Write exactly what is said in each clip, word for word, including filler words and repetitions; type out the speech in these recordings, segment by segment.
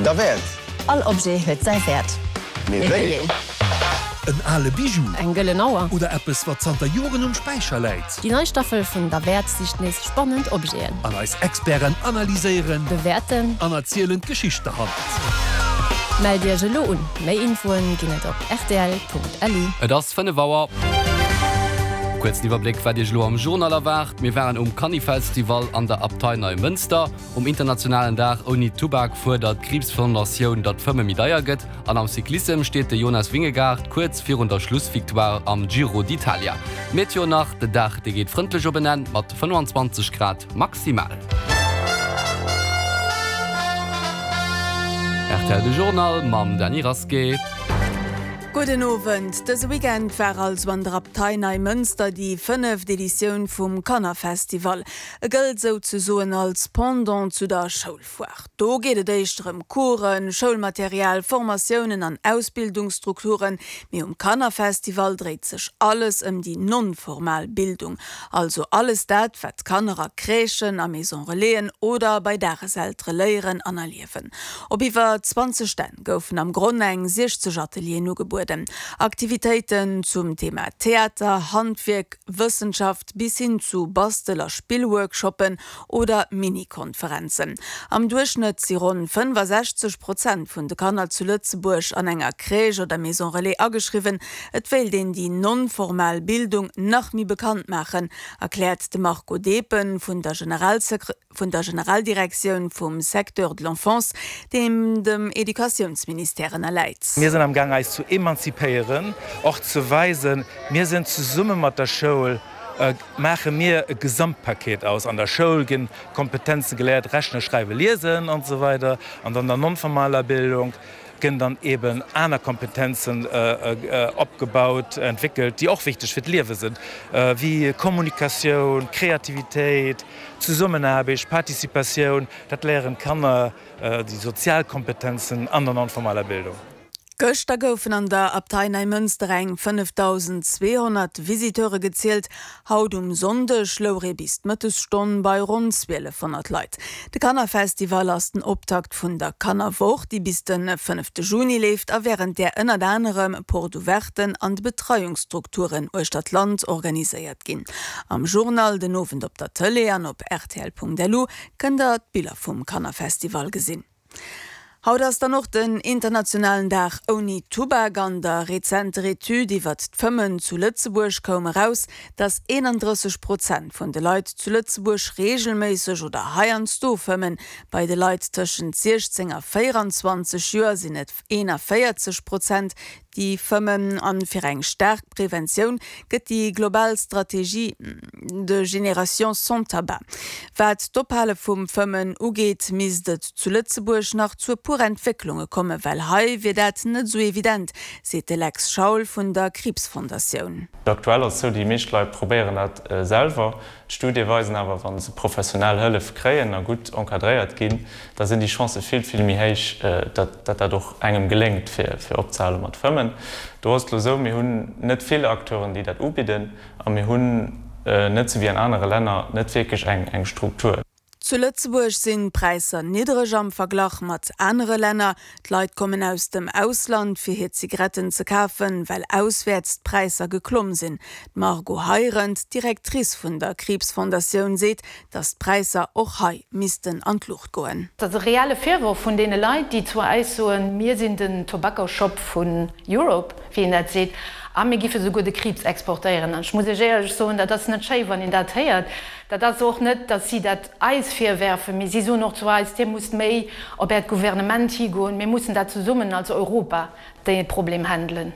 Derwäert. All Objet huet säi Wäert. Mee wéi een? En ale Bijou. Eng gëllen Auer. Oder eppes, wat zanter Joren um Späicher läit. Déi nei Staffel vun Derwäert sicht nees spannend Objeten. An eis Experten analyséieren. Bewäerten. An erzielen d'Geschicht derhannert. Mellt Iech elo un! Méi Infoen ginn et op rtl.lu. Et ass fënnef Auer. Kuerzen Iwwerbléck, wat Iech elo am Journal erwaart, Mir waren um Kannifestival an der Abtei Neimënster. Um internationalen Dag ouni Tubak fuerdert d'Kriibsfondatioun, datt d'Fëmme méi deier gëtt. An am Cyclissem steet de Jonas Vingegaard kuerz virun der Schlussvictoire am Giro d'Italia. D'Meteo nach, Den Dag, dee geet frëndlech op en Enn mat fënnwanzwanzeg Grad maximal. Rtl De Journal mam Dany Rasqué. Gudden Owend. Dëse Weekend war also an der Abtei Neimënster déi fënneft Editioun vum Kannerfestival. E gëllt souzesoen als Pendant zu der Schoulfoire. Do geet et éischter ëm Coursen, Schoulmaterial, Formatiounen an Ausbildungsstrukturen, mee um Kannerfestival dréit sech alles ëm déi non-formal Bildung, also alles dat, wat d'Kanner a Crèchen, a Maison Relaisen oder bei Dageseltere léieren an erliewen. Op iwwer zwanzeg Stänn goufen am Gronn eng siechzeg Atelieren ugebueden. Aktivitéiten zum Thema Theater, Handwierk, Wëssenschaft bis hin zu Bastel a Spillworkshoppen oder Mini-Konferenzen. Am Duerchschnëtt si ronn fënnefasechzeg Prozent vun de Kanner zu Lëtzebuerg an enger Crèche oder Maison Relais ageschriwwen. Et wéilt een déi non-formal Bildung nach méi bekannt maachen, erkläert de Marco Depen vun der vun der Generaldirektioun vum Secteur de l'enfance, deem dem Educatiounsministère ënnerläit. Mir sinn am Gaang eis zu emanzipéieren, och ze weisen, mir sinn zesumme mat der Schoul, maache mir e Gesamtpaket aus. An der Schoul ginn Kompetenze geléiert, rechnen, schreiwen, liesen an esou weider, an an der non-formaler Bildung ginn dann eben aner Kompetenzen opgebaut, entwéckelt, déi och wichteg fir d'Liewe sinn, wéi Kommunikatioun, Kreativitéit, Zesummenaarbecht, Participatioun. Dat léieren d'Kanner, déi sozial Kompetenzen an der non-formaler Bildung. Gëschter goufen an der Abtei Neimënster eng fënnefdausend zweehonnert Visiteure gezielt, haut um Sonndeg louch ee bis d'Mëttesstonn bei ronn zwielefhonnert Leit. De Kannerfestival ass den Optakt vun der Kannerwoch, déi bis de fënnefte Juni leeft a wärend där ënnert anerem Porte ouverten an de Betreiungsstrukturen uechter d'Land organiséiert ginn. Am Journal den Owend op der Tëlee an op rtl.lu kënnt der d'Biller vum Kannerfestival gesinn. Haut ass dann och den internationalen Dag ouni Tubak. An der rezenter Etüd iwwert d'Fëmmen zu Lëtzebuerg koum eraus, dass eenandrësseg Prozent vun de Leit zu Lëtzebuerg reegelméisseg oder heiansdo fëmmen. Bei de Leit tëschent siechzéng a véieranzwanzeg Joer sinn et eenavéierzeg Prozent, déi fëmmen. A fir eng staark Preventioun gëtt déi global Strategie de Génération sans tabac. Wat d'Ophale vum Fëmmen ugeet, misst et zu Lëtzebuerg nach zu e puer Entwécklunge kommen, well hei wier dat net esou evident, seet de Lex Schaul vun der Kriibsfondatioun. Aktuell ass et sou, déi meescht Leit probéieren dat selwer. D'Studie weisen awer, wa se professionell Hëllef kréien a gutt encadréiert ginn, da sinn déi Chancë vill, vill méi héich, datt dat och engem geléngt, fir opzehale mat fëmmen. Do ass et elo esou, mir hunn net vill Acteuren, déi dat ubidden, a mir hunn, net esou wéi an anere Länner, net wierklech eng Struktur. Zu Lëtzebuerg sinn d'Präisser niddereg am Verglach mat anere Länner. D'Leit kommen aus dem Ausland fir hir Zigaretten ze kafen, well auswäerts d'Präisser geklomm sinn. D'Margot Heirendt, Directrice vun der Kriibsfondatioun, seet, datt d'Präisser och hei missten an d'Luucht goen. Dat ass e reelle Virworf vun deene Leit, déi zu eis soen, mir sinn den Tobacco Shop vun Europe, wéi een dat seet, a mir giffe souguer de Kriibs exportéieren. An ech muss Iech éierlech soen, dat ass net schéi, wann een dat héiert. Dat ass och net, datt si dat eis virwerfen, mee si soen och zu eis, Dir musst méi op Äert Gouvernement higoen, mir mussen dat zesummen als Europa dee Problem handelen.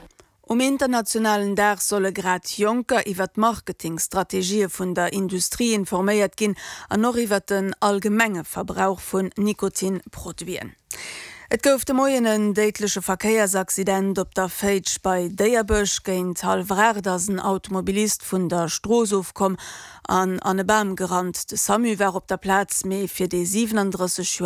Um internationalen Dag solle grad Jonker iwwer d'Marketingstrategië vun der Industrie informéiert ginn an och iwwer den allgemenge Verbrauch vun Nikotinproduiten. Et gouf de Moien en déidleche Verkéiersaccident op der Féitsch bei Déierbech. Géint hallwer aacht ass en Automobilist vun der Strooss ofkomm an an e Bam gerannt. De Samu war op der Plaz, mee fir dee siwenandrësseg Joer